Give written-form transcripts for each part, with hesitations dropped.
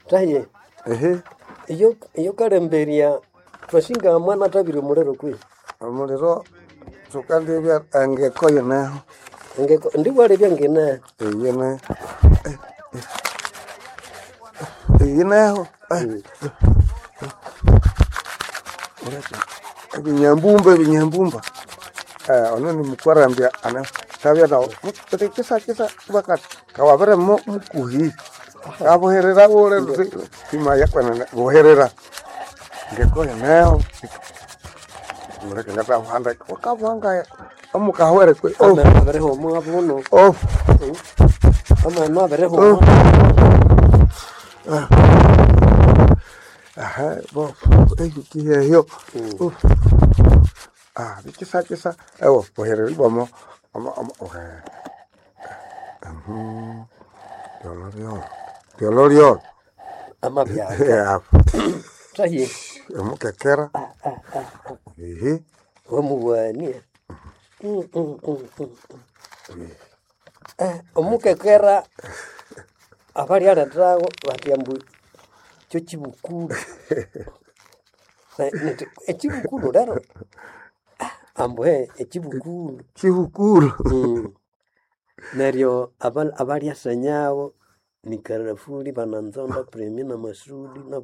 Tahiye Ehe, iyo iyo kalemberya twasinga mwana atabire omuliro kwi omuliro thukalebya engeko yineho. Engeko ndiwalebya ngine Eyine eyineho. Ebinyambumba ebinyambumba. Ono ni mukwarambya ana tabya nawo kisa kisa bakati kawabire mukuhi kabuherera bule simaya kwenene buherera ngeko yineho muleke ngatabuhanda wakabuhanga omukahwere kwe oh ameno abirihuma buno oh ameno abirihuma aha bo ekiheyo ah bikisa kisa ewo buherera ibwamo omo omo ohe ryolo ryolo ryolo ryolo amabyaka Yeah, tahiye omukekera ehe wamuwania omukekera abalyalethawo bathi ambu kyo kibukulu ekibukulu lero ambu he ekibukulu kibukulu Neryo abalyasenyawo ni Karafuli, Bananzonda, Premi na Masudi na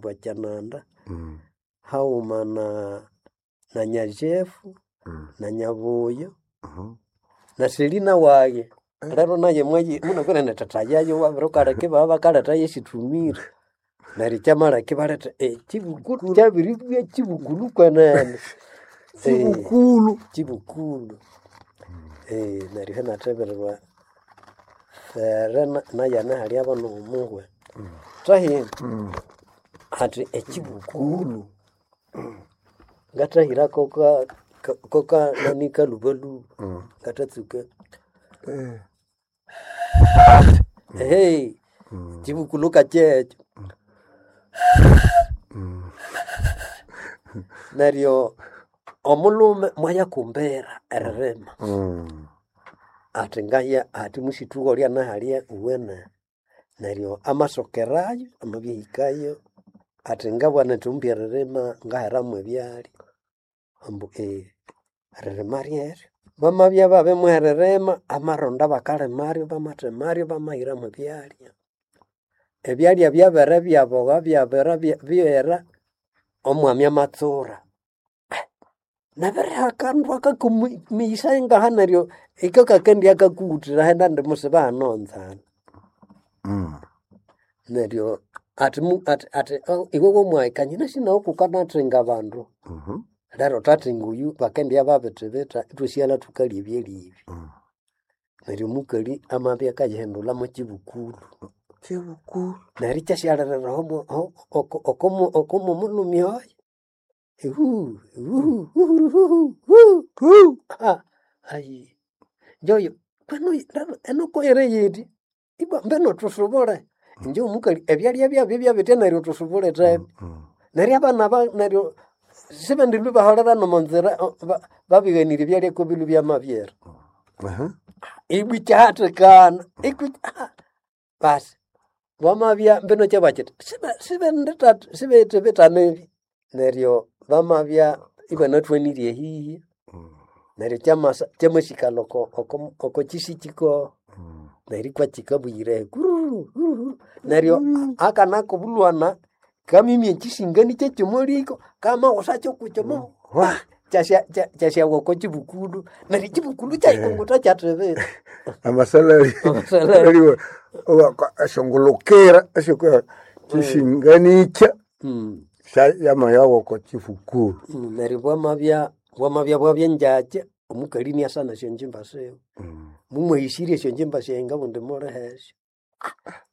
Bwakyananda haghuma na Nyajefu na Nyabuyo na Selina wayi lero naye mwayi munakwire nethatha yayo wabirukaleka ibabya bakaletha yesithumire neryo kyamaleka ibaletha ekibukulu kyabiribya kibukulu kwenene. Kibukulu Kibukulu neryo inathebererwa fere nayana hali nomuhwe thahi athi ekibukulu ngathahira koka koka nani kalubaluba ngathatsuka ehe kibukulu kakyekyo neryo omulhume mwayakumbira eririma athi ngaya athi musithuka olya nahalya uwene neryo amasokerayo amabyahikayo athi ngabana ithumbi eririma ngaheramu ebyalya ambu eririma ryeryo bamabya babimuha eririma amaronda bakalimaryo bamathemaryo bamahiramu ebyalya ebyalya byabere byaboha byabere byera omwami amatsura nabiriha akandu akakumiyisa ngaha neryo iko kakendya kakuwuthira henda indi musiba hano nzana neryo athi athi athi iwe womwahikania nasi nawe kukanathinga abandu lero thathinga oyu bakendibya babithibitha ithwasighalha thukalya ebyalya ebi neryo omukali amabya akayihindulha mwekibukulu Kibukulu neryo ikyasyalirira okomomulhume oyo ihu ihu hu ayi njoyo kwenu eno koyere yiti ibwa mbeno thusubule inje omukali ebyalya byabyo byabitya neryo thusubule thebe neryo abana ba neryo sibendilwe baholera nomonzira babighanirye ebyalya kobilwe byamabyera ibwa ikyahathikana ikwi basi bamabya mbino kyabakyithi sibethibithanebi neryo bamabya ibanathwanirye ehihi neryo kyamasa kyamasikalha oko oko kyisikyi neryo ikwakyikabuyira kururu kururu neryo akana kobulhwana kamimya ekyisingani kyekyomoliko kamaghusakyo kukyomo kyasyawa oko kibukulu neryo ekibukulu kyayikungutha kyathibitha amasalali Amasalali. esyongulukira kyisinganikya yamayawa oko kibukulu Neryo bwamabya bwamabya bwabyangyakya omukali iniasana esyonjimba siwe mumwahisirye esyonjimba syayi ngabundi mulihesyo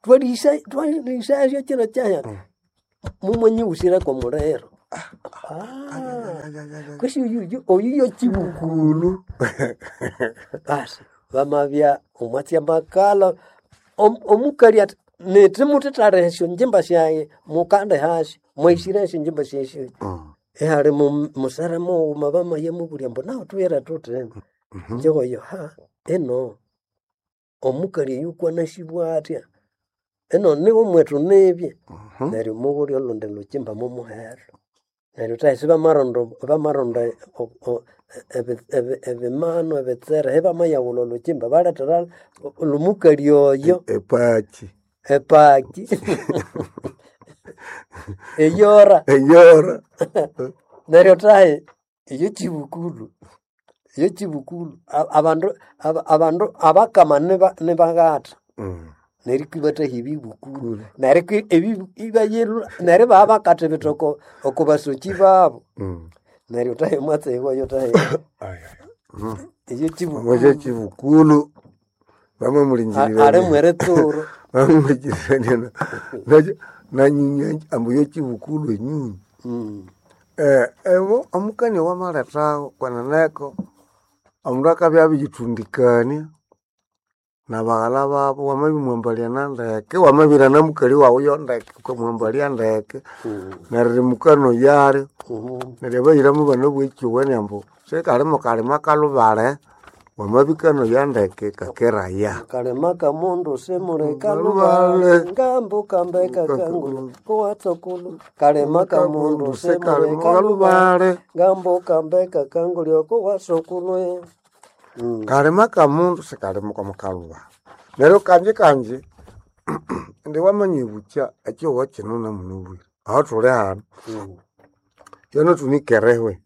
twalihisa twalihisa kyiro kyahya mumwanyighusira kwomuliro kwesi oyu oyu yokibukulu basi bamabya omwatsi amakalha omukali athi nithi muthithaliha esyonjimba syayi mukandihasyo mwahisire esyonjimba syayi syosi ihali musere mughuma bamaya mubulya ambu nahu thuyire thuthi inje oyo ha ino omukali oyu kwanasibwa athya. Eno niwo mwetu nibye neryo mughulya olundi lukimba mumuhero. Neryo thahi sibamaronda bamaronda ebimanu ebitsere ibamayaghulha olhukimba balethera lhomukali oyo Epaki. Epaki eyora Eyora. Neryo thahi eyo kibukulu, eyo kibukulu abandu abandu abakama nibaghatha neryo ibathahya ebibukulu neryo ibayilhwa neryo ibabya oko basoki babu neryo thahi omwatsi oyo thahi eyo kibukulu. Omwa kibukulu bamamulingirira alimu eritsuro. Bamamulingirira nanyunya ambu yo kibukulu enyunyu. Ebo omukania wamalethaho kweneneko omundu akabya abiriyithundikania nabaghalha babo wamabimwambalya nandeke wamabirana namukali wawu yondeke wukamwambalya ndeke neryo rimukanoyalyo neryo abayiramu banabugha ekyowani ambu sikali mukalima kalubale wamabikanoya ndeke kakeraya. Kalima kamundu simuli kalubale ngambuka mbeka kangulu kuwatsukulu kalima kamundu simuli kalubale ngambuka mbeka kangulu kuwasukulwe. Kalima kamundu sikalima kwamukalubale neryo kanji kanji indi wamanya ibukya ekyihugho kino namunabwire aho thuli hano yono thunikerehwe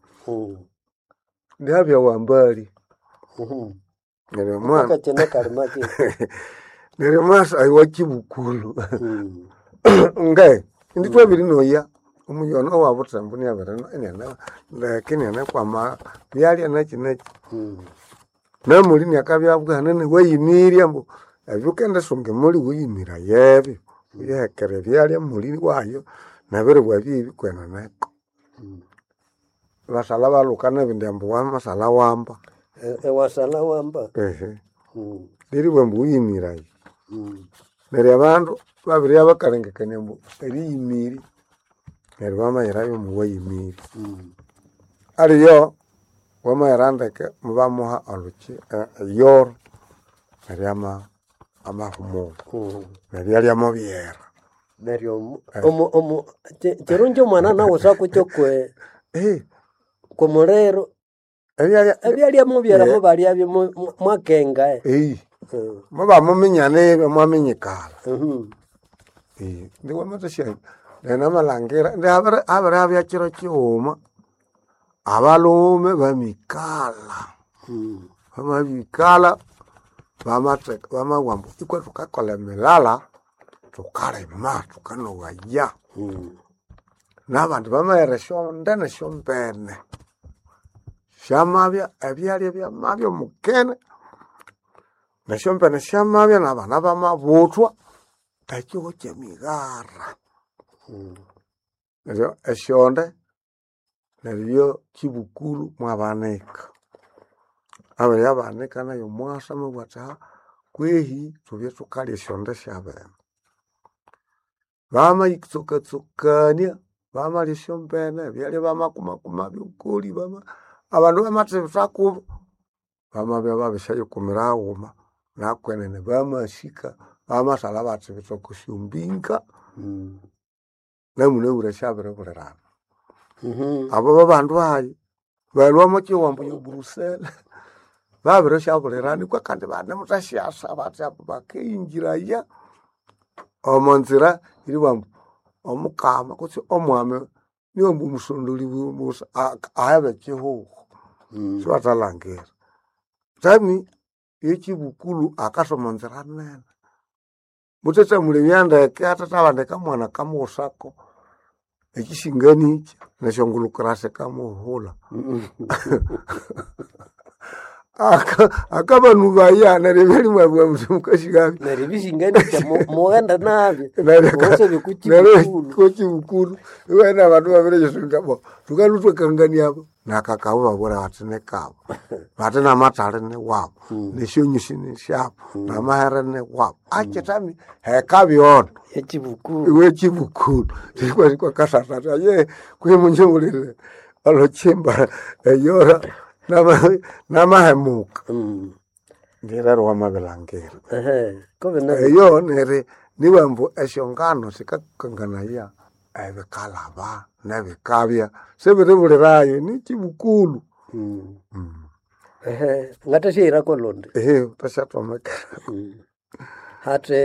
ndihabya wambali neryo omwana Akakine kalima ki neryo omwasa oyo wakibukulhu nge indi thwabirinoya omuyono owa buthembu ndeke inianakwama byalya nakyi nakyi namuli iniakabya abugha wayimirya ambu ebyo wukendisunga emuli wuyimiraya ebyo wuyihekere ebyalya muli wayo nebiribwa byebi kweneneko. Basalha balhuka nebindi ambu wamasalha wamba. Ewasalha wamba. Neribugha ambu wuyimiraya. Neryo abandu babiribya bakalengekania ambu eriyimirya neryo bamayirayo omuwayimirya. Aliyo wamayira ndeke mubamuha olhuki eyoro neryo amahumulha nebyalya mubyera. Neryo kirungi omwana nawu isakukyo kwomuliro Ebyalya ebyalya mubyera mubalyabyo mwakenga. Mubamuminya nibya mwaminyikala. Indi wamathasya neryo namalhangira indi habiribya kiro kighuma abalhume bamikalha, bamabirikalha bamatheka bamabugha ambu ithwe thukakolha emilala thukalima thukanoghaya. Nabandi bamaghera esyonde nesyombene syamabya ebyalya byamabya omukene nesyombene syamabya nabana bamabuthwa ekyihugho kyemighara. Neryo esyonde neryo kibukulu mwabanika. Abiribya banika nayo omwasa amabugha athi kwehi thubye thukalya esyonde syabene. Bamayitsokatsokania bamalya esyombene ebyalya bamakumakumabyo okoli abandu bamathibitha kubo bamabya babisyayikumira haghuma nakwenene bamasika bamasalha bathibitha oko syombinga namunabwire syabiribulirana. Abo babandu hayi balhwa omo kyihugho ambu ye Brussels babirisyabulirana ikwa kandi banemuthasyasa bathi ambu bakiyingiraya omo nzira eribugha ambu omukama kutse omwami niwe ambu omusondoli busa ahebe ekyihugho sibathalhangira. Tami ekyibukulu akasa omo nzira nene muthethamulebya ndeke hathethabandika mwana kamughusako ekyisingani ikyi nesyongulhukira sikamuhulha. Akabanubaya neryo ebyalya imwabugha muthi mukasighabya. Neryo ebisinganikya mughende nabyo mughasabye Neryo okukibukulu. kokibukulu iwabana abandu babiriyisunga bo thukalhwa ithwakangania abo nakakabu babwira bathi nikabu bathi namathali niwabu nesyonyusi nisyabu namahere niwabu akyithami hekabyona Ekibukulu. iwe kibukulu kwakasatha athi aye kwihi munjibulire olhukimba eyora namahemuka ndirero wamabilhangira. Kobe Eyo Nibambu esyongano sikakanganaya ebikalaba nebikabya sibiribulirayo nikibukulu. Ehe, ngathasyaghirako lundi. Ehe, wuthasyathomekerako. Hathi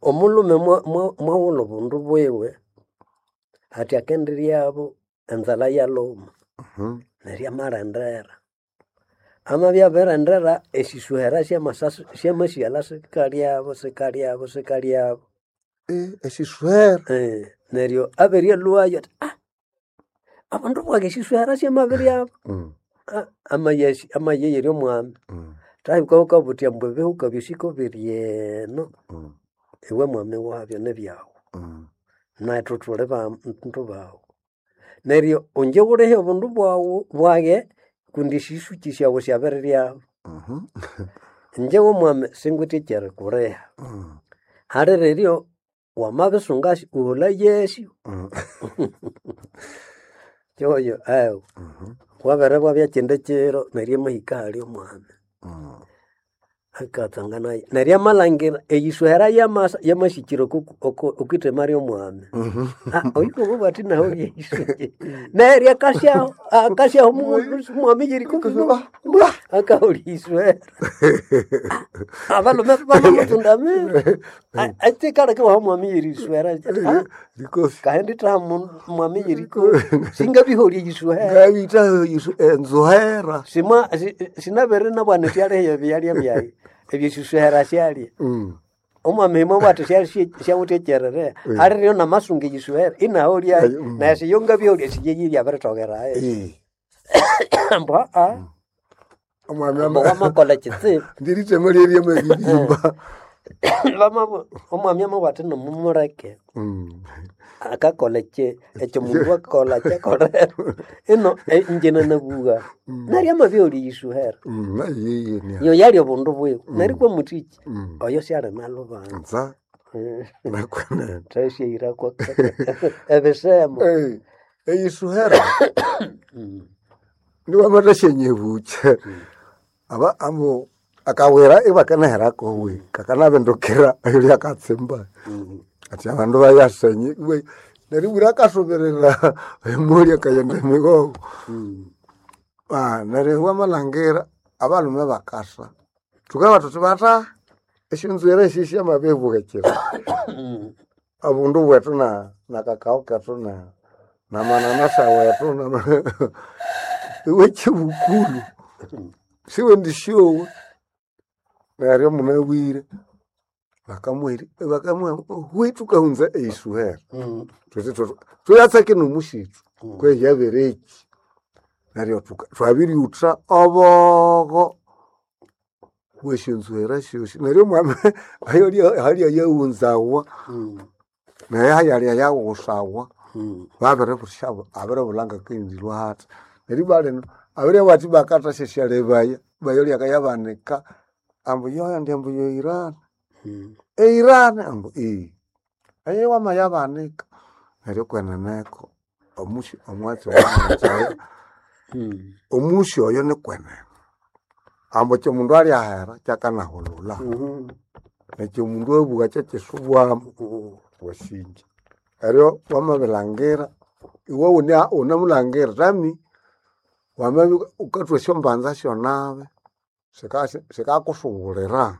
omulhume mwawulha obundu bwiwe hathi akendiryabo enzalha yalhuma neryo amalendera. Amabya abirilendera esisuhera syamasighalha sikalyabo sikalyabo sikalyabo. Esisuhera Neryo abiryalhwayo athi abandu bwayi esisuhera syamabiryabo. Amayegherya omwami thahika wukabugha wuthi ambu ebihuka byosi kobiri eno iwe mwami wabyo nibyawu nethu thuli bandu bawu. Neryo ingye wulihe obundu bwaghu bwaghe kundi esisuki syawu syabiriryabu. Ingye ngomwami singwithe ekyerikuliha. Haliriryo wamabisungasyo wuhulayesyo. Kyoyo ewa wabiribwabya kyindi kyiro neryo amahika ahali omwami akatsanganayo neryo amalhangira eyisuhera yamasa yamasikira okwithema ryomwami. Oyu ngomubugha athi naholye eyisuki neryo akasyaho akasyaho omwami yeriko akaholya eyisuhera. Abalhume bamamutsundamira ekikaleka iwaha omwami yerisuhera Likofi. kahindi ithaha mwami yeriko singabiholya eyisuhera. Ngabitha enzuhera. Simwa sinabere nabwana syalihe ebyalya byayi ebyesisuhera syalya. Omwami mwabugha athi syawithe ekyererera aliryo namasunga eyisuhera inaholyayo neryo siyo ngabiholya siyeyirya abiritokerayo. Ambu Omwami ambu wamakolha kyitsibu. Ndirithema lyerya Bamabugha omwami amabugha athi namumuleke akakolha ekyomundu akolha kyakolera ino ingye nanabugha neryo amabiholya eyisuhera. Nayiye Iyo yali obundu bwiwe neryo kwamuthiki oyo syali nalhubanza. Nza nakwenene. Thasyaghirako ebisemo. Eyisuhera niwamathasyanyibucha aba ambu akawira ibakanaherako we kakanabindukira ayolya akatsimba ati abandu bayasenye we neryo bwira akasubirira emuli akayenda emigongo. Neryo wamalhangira abalhume bakasa thukabugha thuthi batha esyonzwiri esi syamabibughikira obundu bwethu nakakao kethu namananasa wethu iwe kyibukulu siwendisyowa neryo munabwire bakamuhira bakamuha hwi thukahunza eyisuhera thuthi thuyatsake nomusithu kwehi yabireki neryo thwabiryutha obogo bwesyonzuhera syosi neryo omwami ahalya yaghunzawa naye hayalya yaghusawa babiribusyabu abiribulha ngakendilwa hathi neryo ibwa lino abiribugha athi bakathasyasya bayolya akayabanika ambu yondi ambu yoirani eirani ambu eyo wamayabanika neryo kweneneko omusi omwatsi owamutsaya omusi oyo nikwenene ambu ekyomundu alyahera kyakanahulula nekyomundu abugha kyakyisubwamu wasinja neryo wamabilhangira iwe wunemulhangira tami wamabya wukathwa esyombanza syonabi sikakusubulira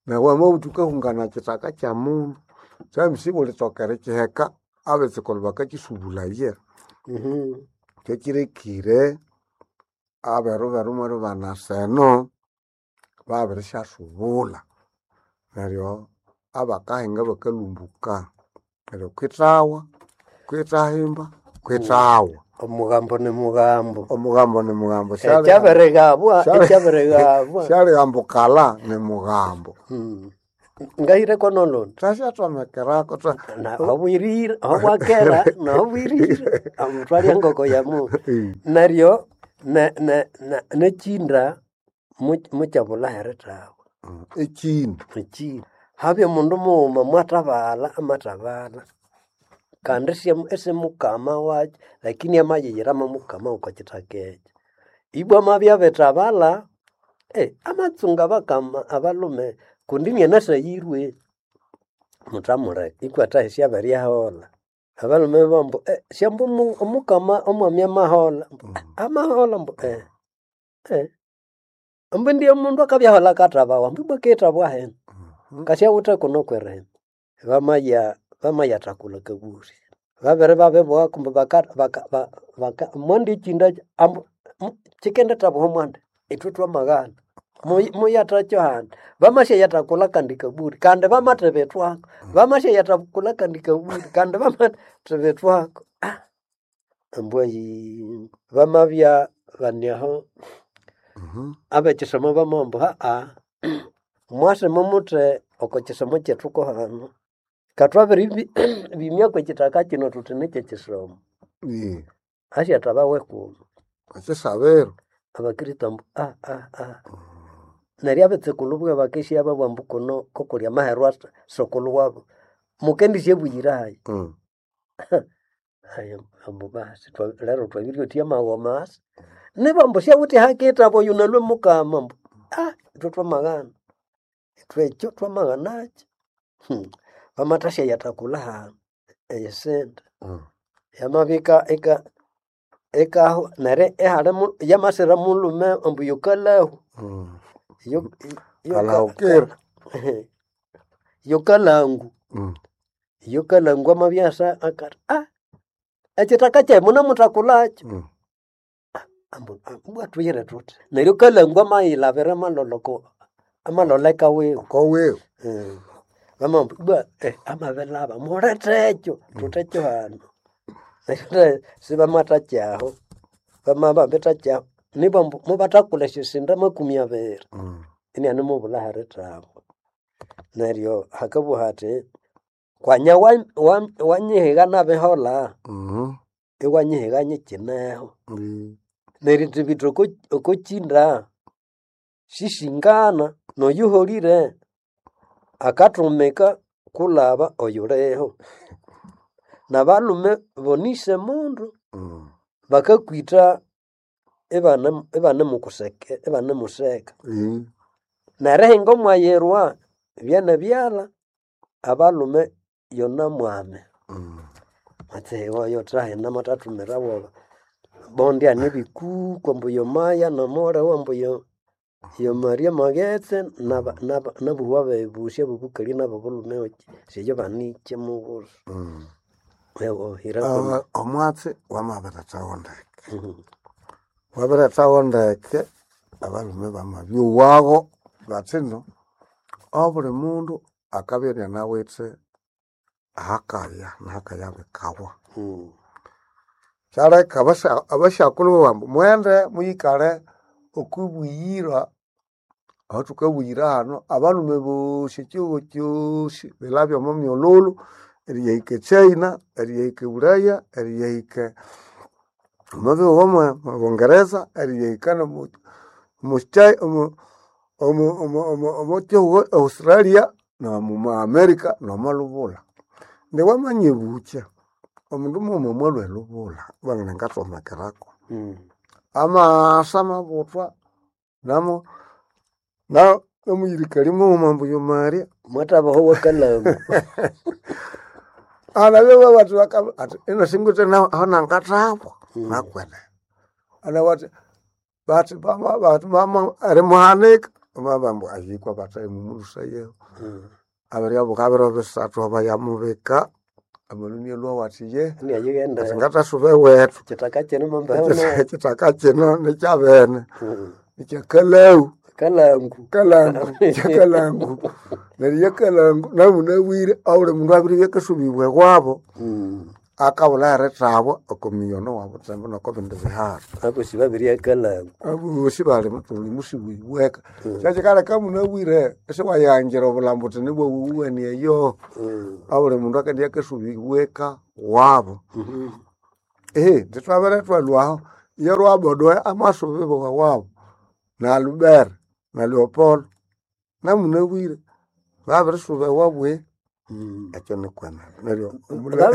neryo wamabugha wuthi wukahungana kyithaka kyamundu tami siwulithoka erikyiheka abetsukulhu bakakyisubulaya. Kyakirekire aberu beru mweribana seno babirisyasubulha neryo abakahinga bakalhumbuka neryo kwithawa, kwithahimba, kwithawa. Omugambo ni mugambo. Omugambo ni mugambo. Ekyabirighabwa ekyabirighabwa. Syalihambukala ni mugambo. Ngahireko nolundi. Thasyathomekeraku Naho bwirire aho bwakera naho bwirire thwalya engoko yamundu. Neryo nekyinda mukyabulha erithawa. Ekyinda. Ekyinda. Habya omundu mughuma mwathabalha amathabalha kandi isimukama wakyo lakini amayiyira mwamukama okwa kyithaka ekyo. Ibwa amabya abithabalha amatsunga abakama abalhume kundi inianasayirwe. Mutamuleka ikwathahi syabiryaholha. Abalume bambu syambu omukama omwami amaholha. Ambu, amaholha ambu Ambu ndiye mundu akabyaholha akathabawa ambu ibwa akithabwa hena. Ngasyawithe kuno kwerihima. Bamaya bamayathakula akaburi. Babere babibugha kumbe baka baka baka mwandikyinda ambu kyikendithabuha mwandi ithwe twamaghana. Muyathakyo handi. Bamasyayathakula akandi kaburi kandi bamathibithwako. Bamasyayathakula akandi kaburi kandi bamathibithwako. Ambu ayi bamabya bani aho abekyisomo bamabugha ambu mwasima muthi oko kyisomo kyethu kuhano. Kathwabiri bimya kwekyithaka kyino thuthi nikyekyisomo. Asyathabawa ekumi. Ekyisabiro. Abakristo ambu Neryo abetsukulhu buwe bakesya babugha ambu kuno kokuli amaherwa sukulhu wabu. Mukendisyabuyira hayi. Haya ambu basi lero twabiryothya amaghoma asa. Niba ambu syawithe ahakithabu oyu nalwe mukama ambu ithwe twamaghana. Ithwe ekyo twamaghanakyo. Bamathasyayathakula hanu eyisente. Yamabya ika ikahwa neryo ihalimu yamasira mulhume ambu yokalahu. Kalahukira. Yokalangu. Yokalangu amabya asa akathi ekyithaka kyayi munemuthakulakyo. Ambu ibwa thuyire thuthi. Neryo kalangu amayilhabira amalholha oko amalholha eka wiwe. Oko wiwe. Bamabugha ambu ibwa amabilhaba mulethekyo thuthekyo hano. Neryo sibamathaky'aho bamababithaky'aho nibwa ambu mubathakulha esyosente makumi abiri inianemubulha aherithabwa. Neryo hakabugha hathi kwanya wanyihiga nabiholha iwanyihiga nyikyineho. Nerithibitha okokyinda sisingana noyuholire akathumika kulhaba oyuliho. Nabalhume bonise mundu bakakwitha ibanemukuseka ibanemuseka. Nerihinga omwayirwa byenebyalha abalhume yona mwame. Mwatsi oyo thahina amathathumira woba. Bondi hane ebikuku ambu yomaya nomugholho ambu yo Maria Maghetse nabuhwa abebusi abobukali nabobulhume siyo banikye mughulhu. Omwatsi wamabirethawo ndeke. Wabirethawo ndeke abalhume bamabyowagho bathino obuli mundu akabya inianawithe ahakaya nahakaya bikawa. Kyaleka abasyakulhu ibabugha ambu mughende muyikalhe okwibuyira ahathukabuyira hanu abalhume bosi ekyihugho kyosi bilabye omo myolholho eriyahika e China, eriyahika ebulaya, eriyahika omo bihugho mwe Bungereza, eriyahika nomo omo kyihugho Australia nomu America nomo lubulha. Indi wamanyibukya omundu mughuma mwalhwa elubulha ibabugha ngathomekerako. Amaasa amabuthwa namo namuyirikali mughuma ambu yo Maria. Mwathabaho wakalangu. Anabya bathi athi ino singwithe aho nangathabwa nakwenene. Anabugha athi bathi bathi mama erimuhanika bamabugha ambu ahikwa bathaghimumulhusayeho. Abiryabuka biro bisathu bayamubika amalhu inalhwawo athi ye Iniayighenda athi ngathasuba ewethu. Ekyithaka kyino mumbeho Ekyithaka kyino nikyabene nikyakalangu. Kalangu. Kalangu kyakalangu. Neryo yakalangu namunabwire obuli mundu abiribya akasubibwa ewabo akabulha aherithabwa oko miyono wabuthembu noko bindi biharo. Abosi babirya kalangu. Abosi bali buli musibibwa eka. Kyekyikaleka munabwire isiwayangira obulhambo wuthi nibwawuwene eyo. Obuli mundu akendibya akasubibwa eka wabo. Ithwabere ithwalhwaho iyo Rwabodoe amasubibwa ewabo na Albert na Leopold namunabwire babirisuba ewabwe ekyo nikwenene neryo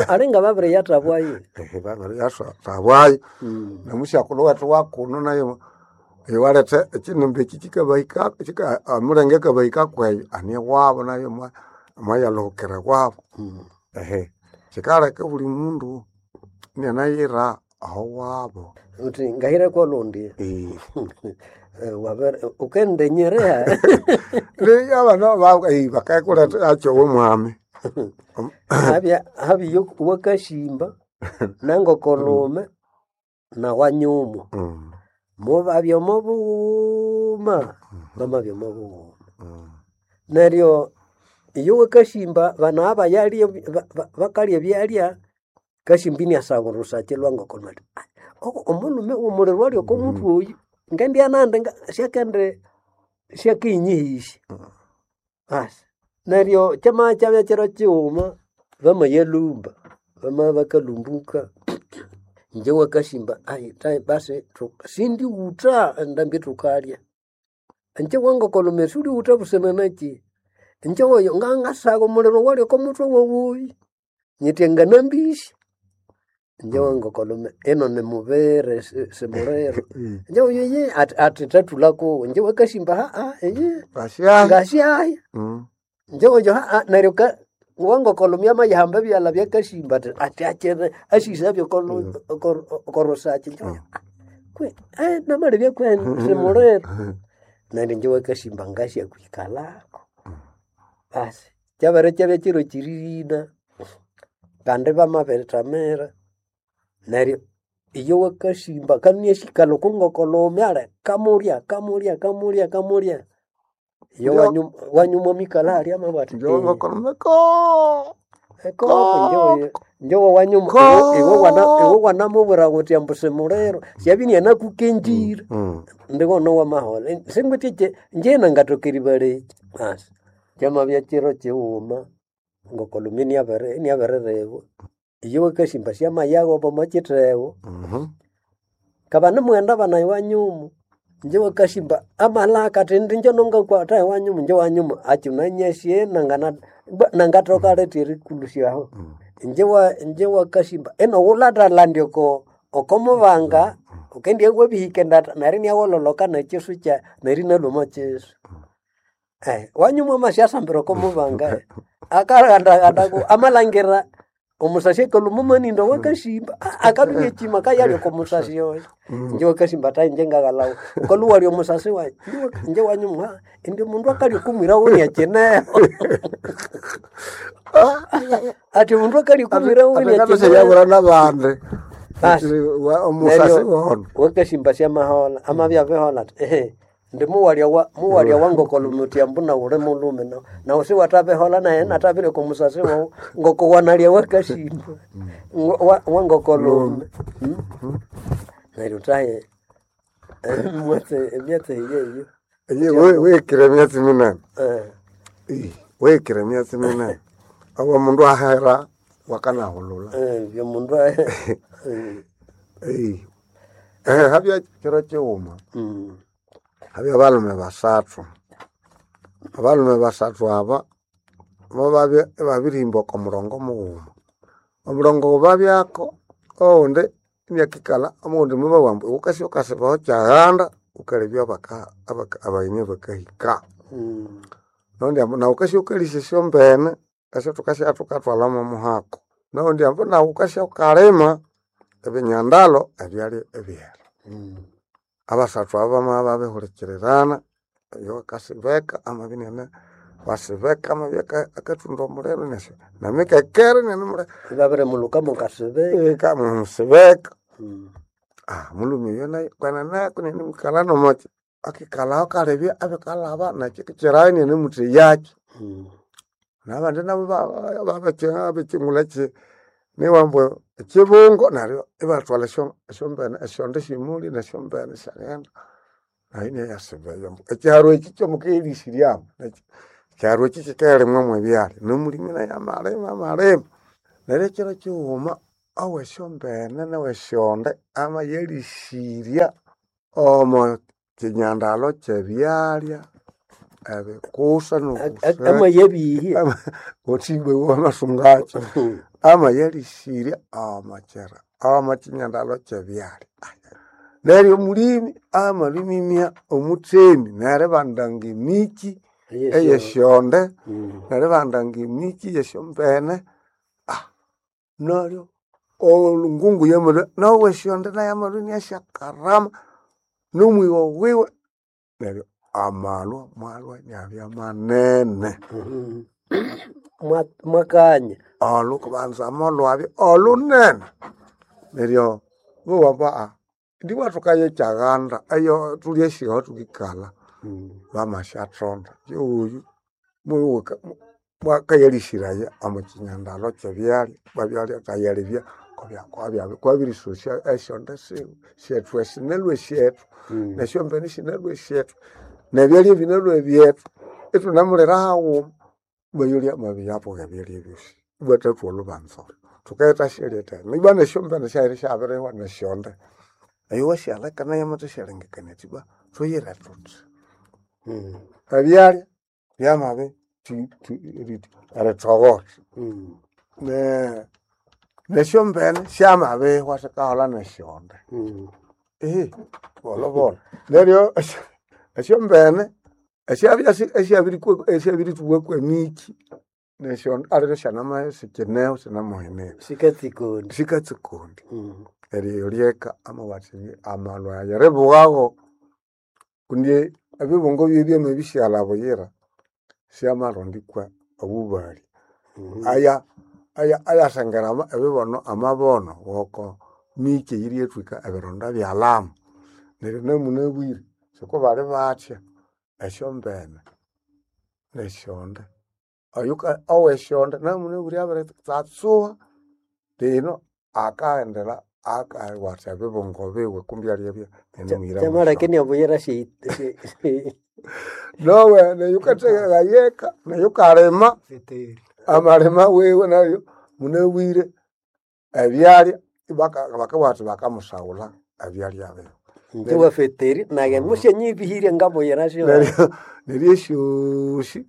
Alinga babiriyathabwayo. Babiriyathabwayo nomusyakulhu wethu wakuno nayo ewaletha ekyinimba ekyi kyikabahika omulenge akabahika kweyo ani ewabo nayo Mwayalhukira wabo. Ehe. Kikaleka buli mundu inianayira aho wabo. Uthi ngahira kwolundi. Eh. Wabere ukendenyerea. Leya abana bakakuleta akyo omwami. Habya habiyo wakashimba nangokolume na wanyumu. Mubabya omobughuma, bamabya omobughuma. Neryo iyo wakashimba bana abayalya bakalya ebyalya, kashimba iniasagha orusaki lwa ngokolume athi omulhume omuliro ali oko muthwe oyu ngendya nandi syakende syakiyinyihĩsya. Basi neryo kyamabya kyabya kiro kighuma bamayalhumba, bamabya bakalhumbuka inje wakashimba ayi basi sindighutha endambi thukalya. Inje wangokolume siwulighutha busana nakyi? Inje oyo ngangasagha omuliro owali oko muthwe wawu oyu nyithe nganambĩsya. Inje wangokolume ino nimubiri simuliro. Inje oyo iye athi thathulha kuwe. Inje wakashimba iye Ngasyahi. ngasyahi. Inje oyo neryo wangokolume amayihamba ebyalha byakashimba athi athi akyere asisabye oko rusaki. Inje oyo kwe namalebya kweni simuliro. Neryo inje wakashimba ngasyakwikalhako. Basi kyabere kyabya kiro kiririna kandi bamabirithamira neryo iyo wakashimba kaniasyikalha oko ngokolume ali kamulya kamulya kamulya kamulya. Iyo wanyuma amikalha halya amabugha athi Inje wangokolume koo ekoko inje wawanyuma iwe wanamubwira ghuthi ambu simuliro syabya inianakukenjire. Ndighono wamaholha singwithe inje nangathoka eribalekya. Basi kyamabya kiro kighuma ngokolume iniabiriribwa. Iyo wakashimba syamayaghoba omo kithego. Kabana imughenda bana ewanyuma, inje wakashimba amalhaka athi indi inje nongakwatha ewanyuma, inje wanyuma akyinanyasi nangathoka lithi erikulusya aho. Inje wakashimba inowulhathalhandya oko okomubanga wukendibya wabihika endatha neryo iniagholholhoka nekisu neryo inalhwa omo kisu. Wanyuma wamasyasambira oko mubanga akaghandaghandaku amalhangira omusasi akalhwa omo maninda owakashimba akabya iniakima akayalya oko musasi oyo. Inje wakashimba athi inje ngaghalhawu wukalhwa iwalya omusasi wayi. Inje wanyuma indi omundu akalya oko mwira wuwe iniakyineho. Athi omundu akalya oko mwira wuwe iniakyineho. Athi nabandi. Basi Omusasi neryo wono. wakashimba syamaholha amabya abiholha athi indi muwalya muwalya wangokolume wuthi ambu nawu wuli mulhume nawu siwathabiholha naye inathabirya oko musasi wawu ngoko wanalya wakashimba wangokolume. Neryo thahe emyatsi eyeyo. Iye wikire emyatsi minene. Wikire emyatsi minene. Obo mundu ahera wakanahulhulha. Byomundu Habya kiro kighuma habya abalhume basathu. Abalhume basathu aba bobabya ibabirihimba oko murongo mughuma. Omurongo babyako oghundi iniakikalha omundi mubabugha ambu wukasya wukasibaho kyaghanda wukalebya abagheni abakahika. Noghundi ambu nawu wukasya wukalisya esyombene esyathukasya thukathwalha mwomuhako. Noghundi ambu nawu wukasya wukalima ebinyandalho ebyalya ebihera. Abasathu abo bamabya babihulikirirana oyo akasibeka amabya iniane wasibeka amabya akathunda omuliro inasya nemikekere inianemuleka Ibabirimulhuka mukasibeka. Musibeka. Omulhume oyo nayo kwenene inianimukalha nomwakyi akikalhaho akalebya abikalhaba nekyikirayo inianimutheyakyo. Nabandi nabo abekyingulha niwambu ekyibungo neryo ibathwalha esyombene esyonde syemuli nesyombene isyaghenda nayo inayasiba eyo ambu ekyiharu ekyi kyamukayalhisiryamo ekyiharu ekyi kyikayalimwa mwebyalya nomulimi nayo amalima amalima. Neryo ekyiro kyighuma owesyombene nowesyonde amayalhisirya omo kyinyandalho kyebyalya ebikusa nobusa Amayabihya. wuthi ibwa wamasungakyo. Amayalhisirya omo kyira omo kyinyandalho kyebyalya. Neryo omulimi amalhwimimya omutheni neribandanga emikyi. Eyesyonde neribanda ngemiki yesyombene neryo olungungu yamalhwa nawe esyonde nayo yamalhwa inasyakarama nomwigho wiwe neryo amalwa mwalwa inabya manene. Mwakanya Olhukubanza molwabya olhunene neryo bowa ambu ndibwa thukayekyaganda eyo thulyasi aho thukikalha bamasyathonda yowoyu mwakayalĩsĩraya omo kyinyandalo kyebyalya bwabyalya akayalebya kwabirisyosya esyonde siwe syethu esi sinalwe syethu nesyombene sinalwe syethu nebyalya binalwe byethu ithunemulira haghuma bayolya mwabiyabugha ebyalya ebyosi ibathathwa olhubanza olho thukayithasyalya ibwa nesyombene syabere syabirihwa nesyonde eyo wasyaleka nayo yamathasyalengekania athi ibwa thuyire thuthi ebyalya byamabi erithogotha nesyombene syamabihwa sikaholha nesyonde bolhobolho neryo esyombene esyabya esyabirithubwa kwemikyi nesyonde aliro syanama sikineho sinamuhenere sikatsikondi sikatsikondi neryo lyeka amabugha athi amalwa aya eribughago kundi ebibungo byebi byamabisighalha buyira syamarondikwa obubali aya ayasengera ebibono amabono ngoko miki eyiryathwika ebironda byalama neryo namunabwire sikubali bathya esyombene nesyonde oyuka owesyonde namunabwire abirithatsuha lino akaghendera akawatha ebibungo biwe kumbi alyabya inimuhira kyamaleka inabuyira nowe neyukathekayeka neyukalima amalima wiwe nayo munabwire ebyalya bakabugha bathi bakamusaghulha ebyalya biwe. Inje wafeteri naye musyanyibihirye ngabuyira syo Neryo neryo esyosi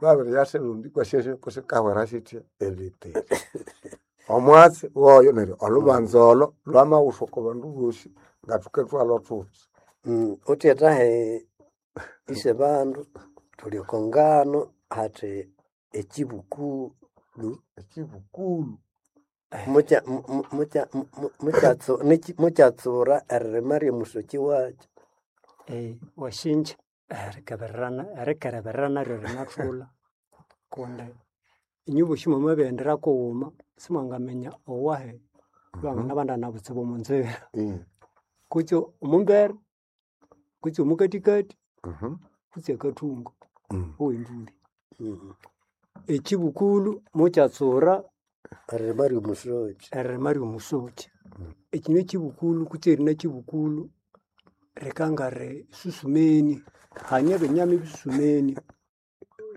babiriyasirundikwa syesyo kusikahwera sithya ebitiri. Omwatsi woyo neryo olhubanza olho lwamaghuswa oko bandu bosi ngathukethwalho thuthi. Uthethahe ise bandu thuli oko ngano hathi ekyibukulu Ekyibukulu mukyatsura eririma ryomusoki wakyo. Wasinja erikebererana erikereberera naryo rinathulha kundi inywe bosi mwamabighendera kughuma simwangaminya owahi ibanganabandana butsibu omunzira kutse omumbere kutse omukathikathi kutse akathungu owembuli. Ekyibukulhu mukyatsura Eririma ryomusoki. Eririma ryomusoki. Ekinywa kyibukulhu kutse erina kyibukulhu rikangari susumeni hane ebinyama ebisusumeni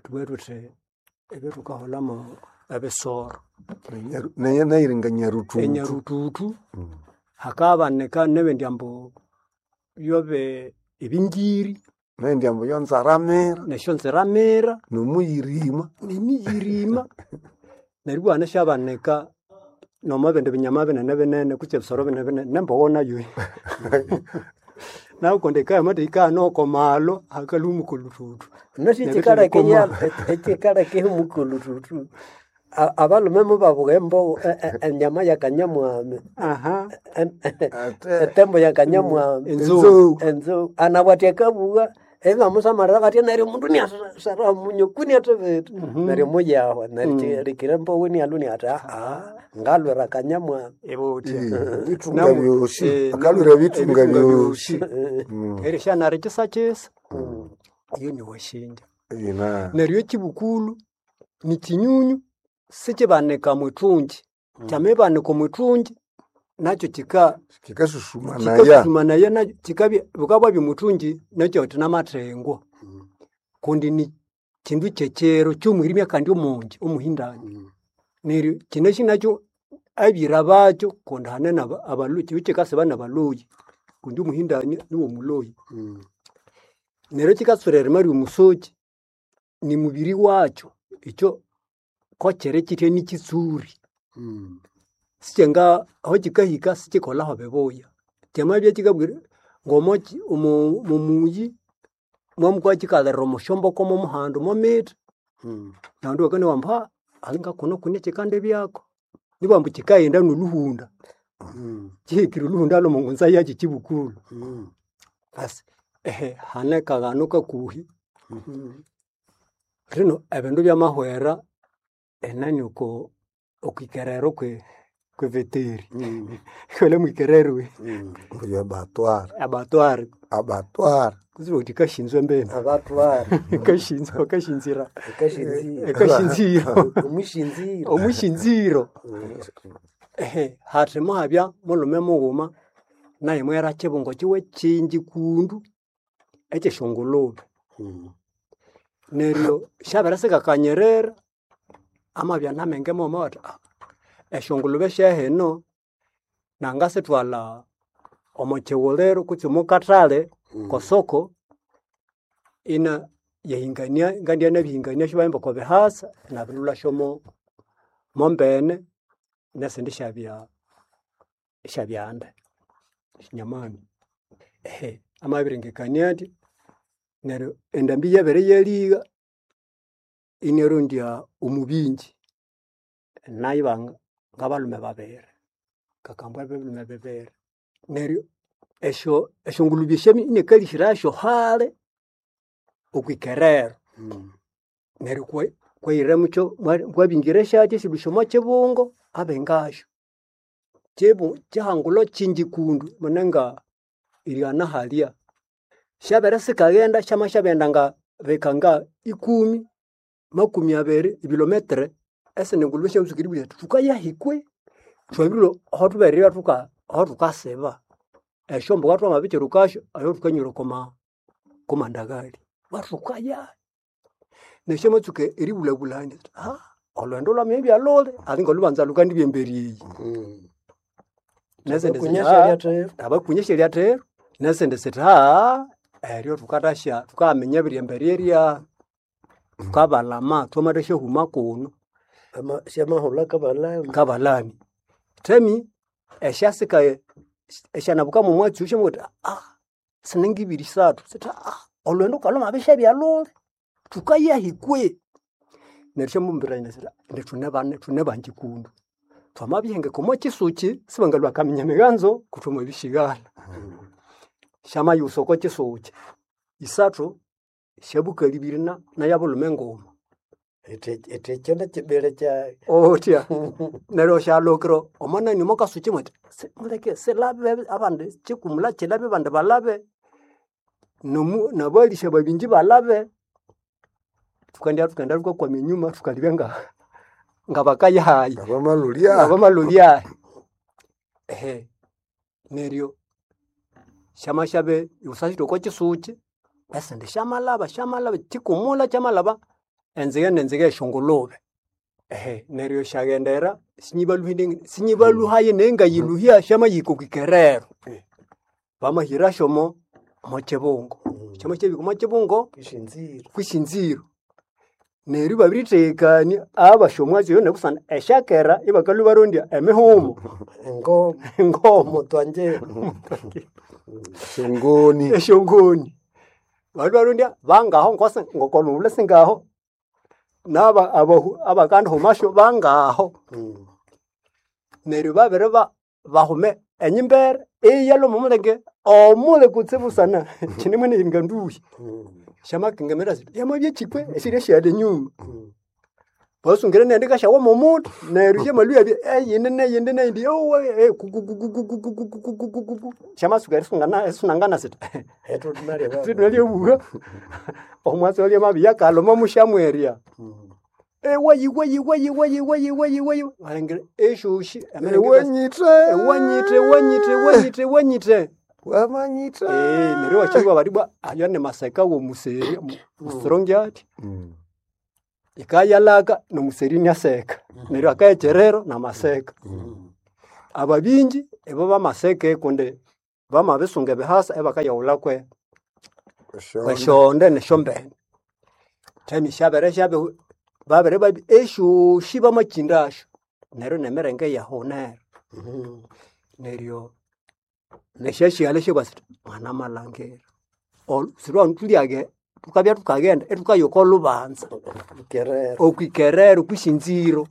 thubughe thuthi ebyathukaholhamu ebisoro. Nayiringa nyaruthuthu. Enyaruthuthu hakabanika nebindi ambu byobe ebingiri. Nindi ambu yonzaramira. Nesyonziramira. Nomuyirima. Nemiyirima. Neryo ibwa hanesyabanika nomwabindi binyama binene binene kutse ebisoro binene binene nembogho nayo. Nayo kundi yikabya yamathahika oko malhwa hakalhwa omukuluthuthu. Nasi ekikaleka omukulhuthuthu abalhume mubabugha embogho enyama yakanyamwami etembo yakanyamwami Enzou. enzou anabwa athi akabugha ibamusamalira bathi neryo omundu iniasara omunyu kuni athibiti neryo muyahwa neryo rikira embogho inialhwa iniathi ngalhwira akanyamwami. Ibuthya. Ebithunga byosi akalhwira ebithunga byosi. Erisyanara ekyisakisa iyo niwashinja. Neryo ekyibukulhu nikyinyunyu sikibanika mwithungi kyamibanika omwithungi nakyo kika Kikasusumanaya. kikasusumanaya nakyo kikabya bukabwabya omwithungi nakyo namathengo kundi ni kindu kyekyiro kyomwirimya kandi omungi omuhindani. Neryo kyinasi nakyo abyira bakyo kundi hane abalhuyi kibya kyikasiba nabalhuyi kundi omuhindani niwomuloyi. Neryo kyikatsura eririma ryomusoki nimubiri wakyo ikyo kokyiri kyithya nikyitsuri. Sikyanga aho kyikahika sikyikolaho bibuya. Kyamabya kyikabwira ngomo omuyi Mwamukwa kikalira omusyomboko momuhando momithi. Nabandu bakanowa ambu alinga kuno kune kikandi byako. Nibambu kikaghenda nolhuhunda. Kihikire olhuhunda lwomo ngunza yakyo kibukulhu. Basi ehe hane kaghano kakuhi. Lino ebindu byamahwera enani oko okwikerero kwe kweveteri. Wele mwikerero we. Oyo abatwara Abatware. abatwara Kutsibu uthi kashinzwe mbene. Abatwara Kashinzwe bakashinzira. ekashinziro Ekashinziro. omushinziro Omushinziro. Ehe hathi muhabya mulume mughuma naye mwera kibungo kiwe kingi kundu ekyesyongulube. Neryo syabere sikakanyirira amabya namenge mughuma athi esyongulube syahino nangasithwalha omo kighuliro kutse omo kathali kosoko ina yahingania ngandya nabihingania syabahimba oko bihasa inabirilhwasyo mo mombene nesindi syabya syabyanda esyanyamani. Ehe amabirengekania athi neryo endambi yabere yaligha inarondya omubingi nayo ibanga ngabalhume babiri ngakambwa ebilume bibiri. Neryo esyo esyongulube esyo inakalihirasyo hali okwikerero. Neryo kwa kwahira mukyo kwabingira syakyo esilhusya omo kibungo abingasyo. Kibu kihangulo kingi kundu munenga erighana halya. Syabere sikaghenda syama syabirighenda nga bikanga ikumi, makumi abiri ebilometere esindi ngulube syamatsuka eribugha syiti thukayahi kwe? Thwabirilhwa ahathubere thuka ahathukasiba. Esyombulho twamabikirukasyo aho thukanywera okwa kwamandaghali. Bathukaya. Neryo syamatsuka eribulhabulhania sithi olhwendo lwamabya lhuli alinga olhubanza lhukandibya emberi eyi. Nesindi sithi abakunya syalyathero. Nesindi sithi eryo thukathasya thukaminya ebiri emberi erya. Thukabalama thwamathasyahuma kuno. Syamahulha kabalami. Kabalami. Themi esyasikaye esyanabuka mwomwatsi oyo syamabugha sithi siningibiri isathu sithi olhwendo ngalhwamabisyabya lhuli thukayahi kwe? Neryo syamumbirania sithi indi thune thune bangi kundu. Thwamabihengeka omo kisuki sibangalhwa akaminya emiganzo kuthwamabisighalha. Syamayusa oko kisuki. Isathu syabukali ibiri nayabulhume nguma. Ithi ithi ekyo nikibiri kyayi. Othya. Neryo syalhukira omo nani omo kasuki mwathi muleke silabe abandi kikumula kilabe abandi balabe. Nomu nabalisya babingi balabe. Thukandya thukaghenda thukakwama enyuma thukalibya nga ngabakayahayi. Ngabamalholya. Ngabamalholya. Ehe neryo syamasyabe yusa syiti oko kisuki esindi syamalaba syamalaba kikumula kyamalaba enzige nenzige esyongulube. Ehe neryo syaghendera sinyibalhuhine sinyibalhuhaye nengayiluhya syamayihika okwikerero. Bamahirasyo omo kibungo. Syamasyabihika omo kibungo Kwisinziro. kwisinziro. Neryo ibabirithekania abasya omwatsi oyo nebusana esyakera ibakalhwa ibarondya emihumo. Engoma. Engoma. Omutwangiro. Esyongoni. Esyongoni. Balhwa ibarondya bangaho ngosi ngokolhughulhu singaho naba abahu abakandihumasyo bangaho. Neryo babiri bahume enyimbere iyalhwa omomulenge omuli kutsibu busana kyine mwene nduhi. Syamakengemera sithi yamabya kyikwe esyirya syalya enyuma. Basungire neyindi ikasyawa mwomuthi neryo syamalhwa iyabya eyindi neyindi neyindi yowe kukukukukukukukukukukuku. Syamatsuka erisungana erisunangana sithi thunalyabuha omwatsi oyo amabya akalhuma musyamwerya. Ewayi wayi wayi wayi wayi wayi wayi walhangira esyosi Ewanyithe. ewanyithe ewanyithe ewanyithe ewanyithe. Wamanyithe. Neryo iwakyibugha bathi ibwa ayo nimaseka womuseri mustrong athi. Yikayalaka nomuseri iniaseka. Neryo akaya ekyerero namaseka. Ababingi ibo bamaseka kundi bamabisunga ebihasa ibakayaghulha kwe kwesyonde nesyombene. Themi syabere syabi babere babi esyosi bamakyindasyo. Neryo nemirenge iyahunera. Neryo nesyasighalha syabugha sithi mwanamalhangira sirwangu thulyaghe. Tukabya tukaghenda itukaya oko lubanza Kerero. okwikerero kwisinziro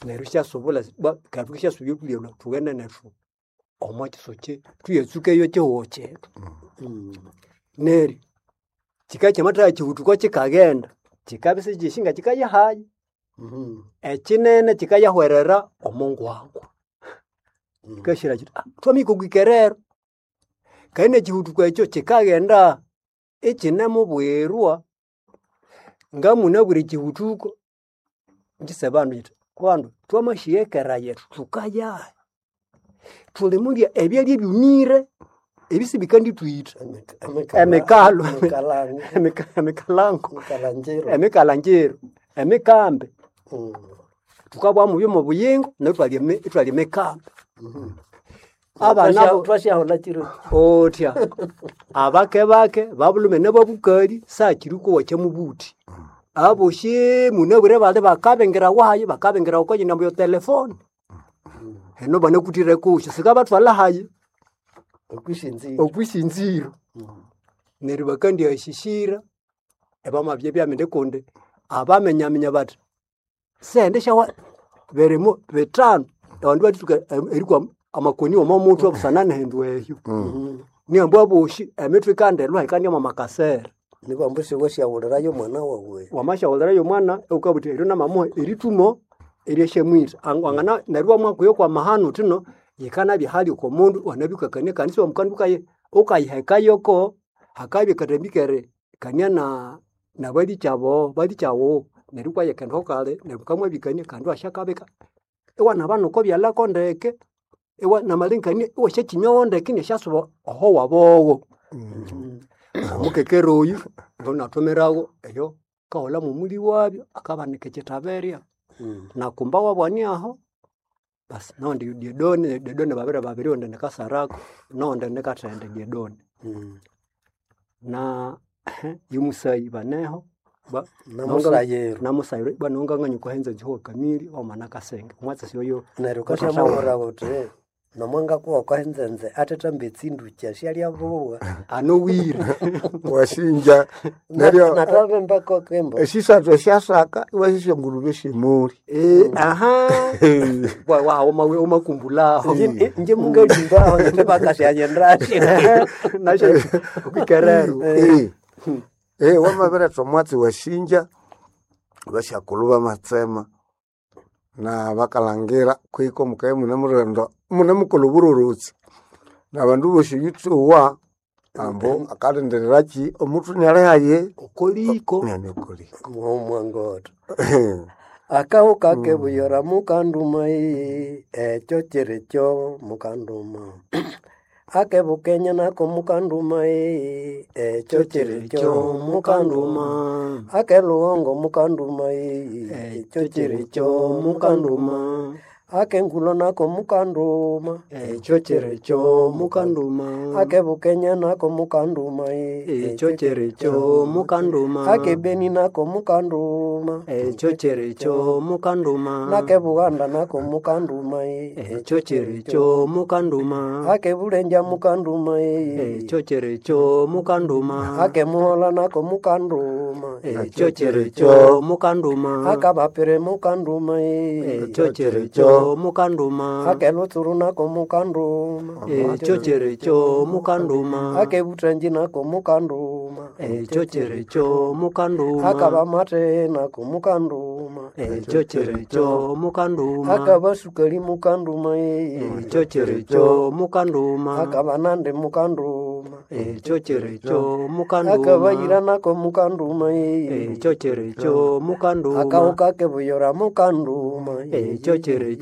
neryo syasubula bwa katu syasubya okulya thughende nethu omo kisoke tuyatsukeyo kihugho kyethu. Neryo kikabya kyamathaha kihuthuko kikaghenda kikabya isikyishinga kikayahayi. Ekinene kikayahwerera omo ngwangwa. Kikashira kiti ah twamahika okwikerero. Kandi nekihuthuko ekyo kikaghenda ikinemubwirwa. Ngamunabwire ekihuthuko ngise bandu nyithi bandu twamashiyekera yethu thukayahi? Thulimulya ebyalya ebyumire ebisibikandithwitha. Emikalo Emikalango. Emikalango Emikalanjiro. emikalangiro, emikambi. Thukabugha mubyo mobuyingo neryo ithwalya ithwalya emikambi. Abana abo Twasyaholha kiro. otya abake bake babulhume nababukali sakiri kowa kyamubuthi. Aboshi munabwire bali bakabingira wayi bakabingira oko nyina yo telefone. Heno banakuthire kusyo sikabathwalha hayi Okwisinziro. okwisinziro. Neryo bakandyahishishira ebamabya byamindi kundi abamenyaminya bathi sente syawa birimo bitano abandu batsuka erikwa amakoni omo muthwe busana nehindu ehyo. Nihambu aboshi emithwe ikandelwa ikandya mwamakasere. Nibambu siwasyaghulirayo omwana wawe. Wamasyawulirayo omwana wukabuthi eryo namamuha erithumo eryasyamwitha. Wangana neryo iwamwakwiyo kwamahano wuthino yikanabya hali oko mundu wanabikakania kandi siwamukandu ukayihekayoko hakabya akathambi keri kania na nabalikyabo balikyawu neryo iwayikendako kali neryo mukamwabikania kandi iwasyakabika iwanabana oko byalhako ndeke iwa namalengekania iwasyakyimyawo ndeke inasyasuba oho wabowo. Omukekere oyu ngonathumiragho eyo kaholha mwomuli wabyo akabanika ekyithaberya nakumba wabwani aho basi nondi Diedone, Diedone babiri babiri ondi ni Kasarako nondi ni Kathende Diedone. Na yumusayi baneho ba Namusayiro. namusayiro banonganganya okuhenza ekihugo kamiri omo nakasenge omwatsi oyo Neryo ukasyamuwira wuthi nomwangakuwa okahenzenze athetamba etsindukya syalya buwa. anowire Wasinja neryo Natavemba kokembo. esisathu esyasaka iwasisya ngulube esyemuli. Aha wamakumbulaho Inje mungalimbaho nithe bakasyanyendasyo. nasyo okwikerero Wamabiretha omwatsi wasinja basyakulhu bamatsema na bakalhangira kwiko mukabya imunemulhinda imunemukolha oburorotsi nabandu bosi oyutsuwa ambu akalindiriraki omuthu inali hayi okoliko inani okoliko. Mwangotho. Akahuka kebuyora mukanduma ii ekyo kirikyo mukanduma. Akebukenya nako mukanduma ii ekyo kirikyo mukanduma. Akelughongo mukanduma ii ekyo kirikyo mukanduma. Akengulo nako mukanduma ekyo kirikyo mukanduma. Akebukenya nako mukanduma ii Ekyo kirikyo mukanduma. Akebeni nako mukanduma Ekyo kirikyo mukanduma. Nakebughanda nako mukanduma ii Ekyo kirikyo mukanduma. Akebulenja mukanduma ii Ekyo kirikyo mukanduma. Akemuhola nako mukanduma Ekyo kirikyo mukanduma. Akabapire mukanduma ii Ekyo kirikyo mukanduma. Akelutsuru nako mukanduma Ekyo kirikyo mukanduma. Akebuthanji nako mukanduma Ekyo kirikyo mukanduma. Akabamate nako mukanduma Ekyo kirikyo mukanduma. Akabasukali mukanduma ii Ekyo kirikyo mukanduma. Akabanande mukanduma Ekyo kirikyo mukanduma. Akabayira nako mukanduma ii Ekyo kirikyo mukanduma. Akahuka kebuyora mukanduma Ekyo kirikyo.